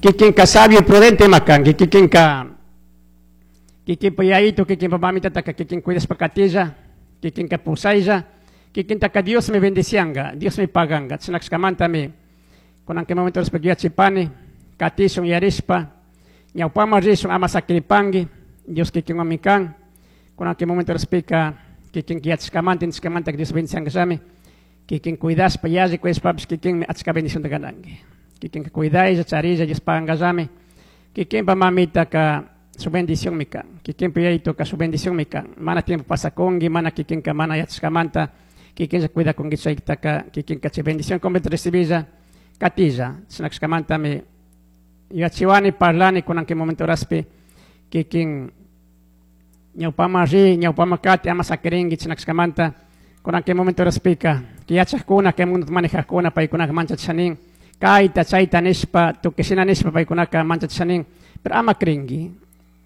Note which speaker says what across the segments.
Speaker 1: Kikinka sabio prudente ima kanki, kikinka kikinpa yayito, kikinpa mamitataka kikin cuidashpa katilla, kikinka pusaylla, kikintaka Diosmi bendicianga, Diosmi paganga. Chashnakashkamantami kunan kay momento yachipani, katishun yarishpa, ñawpaman rishun ama sakiripanki, Dios kikinwanmi kan. Kunan kay momento pika kikin yachashkamanta, intishkamanta Dios bendiciangallami, kikin cuidashpa, yalli cuidashpapish kikinmi achka bendicionta gananki. Kikinka cuidaylla, charilla, Dios pagangallami, kikinpa mamitaka su bendición mi kan, kikinpa yayitoka su bendición mi kan. Mana tiempo pasakunki, mana kikinka mana yachashkamanta, kikinlla cuidakunki chaytaka, kikinka chay bendición completa recibilla, katilla. Chashnakashkamantami yachiwani, parlani kunan kay momento horaspi, kikin ñawpaman ri, ñawpaman kati, ama sakirinki chashnakashkamanta, kunan kay momento horaspika, yachajkuna, kay mundo manejajkuna, paykunaka manchachishanin, kayta, chayta nishpa, tukuy shina nishpa paykunaka manchachishanin, pero ama crinki,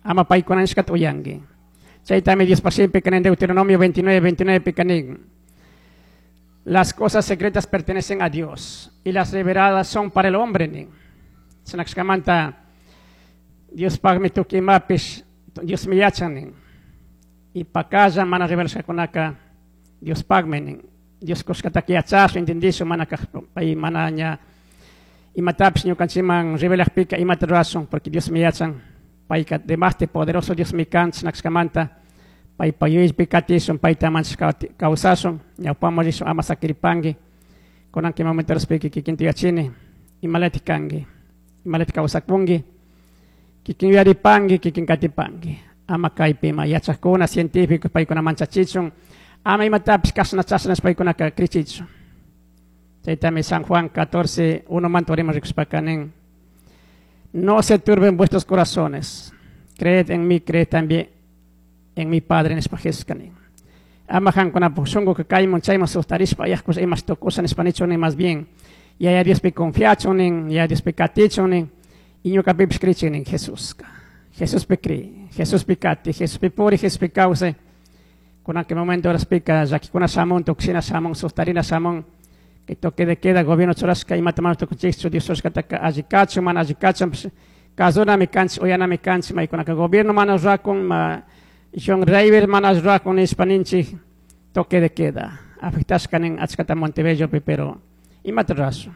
Speaker 1: ama paykuna nishkata uyanki. Chaytami Dios shimipi en Deuteronomio 29, 29 pika nin. Las cosas secretas pertenecen a Dios y las reveladas son para el hombre. Nin. Chashnakashkamanta Dios pagmi tukuy imapish, Dios mi yachan nin. Y pakalla mana revelashkakunaka Dios pagmi nin. Dios kushkataka yachashun, entendishun, mana pay mana ña imatapish ñukanchikman revelakpika imata rurashun, porque Dios mi yachan, payka demaste poderoso Dios mi kan, chashnakashkamanta paypa yuyaypi katishun, payta manchashka kawsashun, ñawpaman rishun ama sakiripanki, kunan kay momento horaspika kikinta yachini, imalatik kanki, imalatik kawsakunki, kikin yuyaripanki, kikin katipanki, ama kaypi ima yachakuna, científicos paykuna manchachichun, ama imatapish kashna chashna paykunaka krichichun. Chaytami San Juan 14, 1 manta uriman rikushpaka nin, no se turben vuestros corazones, creed en mí, creed también en mi Padre nishpa Jesuska nin. Ama kankunapuk shunkuka kaymun chayman sustarishpa ayajkush imash tukusha nishpa nichun nin, más bien Yaya Diospi confiachun nin, Yaya Diospi katichun nin, y ñukapipish krichin nin Jesuska. Jesuspi kri, Jesuspi kati, Jesuspi puri, Jesuspi kawsay. Kunan kay momento horaspika llakikuna shamun, tukushina shamun, sustarina shamun, kay toque de queda gobierno churashka imata mana tukunchikchu, Dios churashkataka alli kachun, mana alli kachun, kazunami kanchik, uyanami kanchik, maykunaka gobierno mana rurakun, ma John Driver mana rurakun nishpa ninchik, toque de queda. Afectashka nin achkata Montebellopi, pero imata rurashun.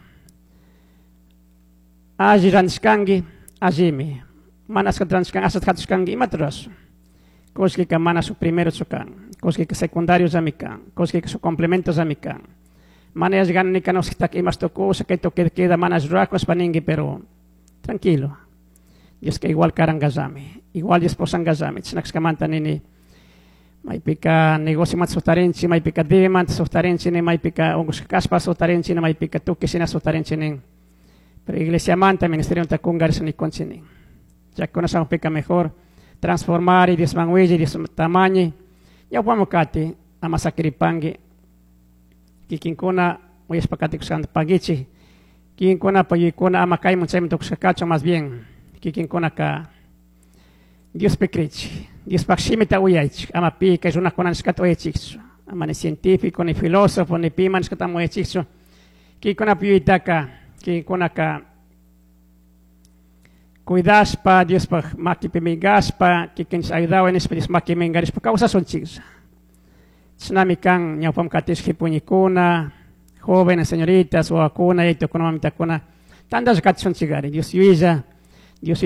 Speaker 1: Alli rantishkanki, allimi. Mana achkata rantishkanki, ashata hatushkanki, imata rurashun. Kullkika mana su primero kan, kullkika secundario llami kan, kullkika su complemento llami kan. Mana yalli nika noskitaka imash tukusha, kay toque de queda mana rurakun nishpa ninki, pero tranquilo. Dioska igual karangallami, igual Dios posangallami. Chashnakashkamanta nini, maypika negocio manta sustarinchik, maypika debe manta sustarinchik, nin, maypika unkushka kashpa sustarinchik, nin, maypika tukuy shina sustarinchik nin. Pero iglesia manta, ministerio manta kungarisha nikunchik nin. Llakikuna shamukpika mejor transformar y Diosman willi, Dios tamañi. Ñawpaman kati, ama sakiripanki, kikinkuna uyashpa katikushkanta pagichik, kikinkuna payuykuna ama kaymun chaymun tukushka kachun, más bien kikinkunaka Diospi krichik, Diospaj shimita uyaychik, ama pi kay runakuna nishkata uyaychikchu, ama ni científico, ni filósofo, ni pima nishkata ama uyaychikchu, kikinkunapa yuyaytaka, kikinkunaka cuidashpa, Diospaj makipi mingashpa, kikinchik ayudawan nishpa Dios makipi mingarishpa kawsashunchiklla. Chashnami kan ñawpaman katish jipuñikuna, jóvenes, señoritas, wawakuna, yaytukuna, mamitakuna, tantalla katishunchikari, Dios yuyaylla.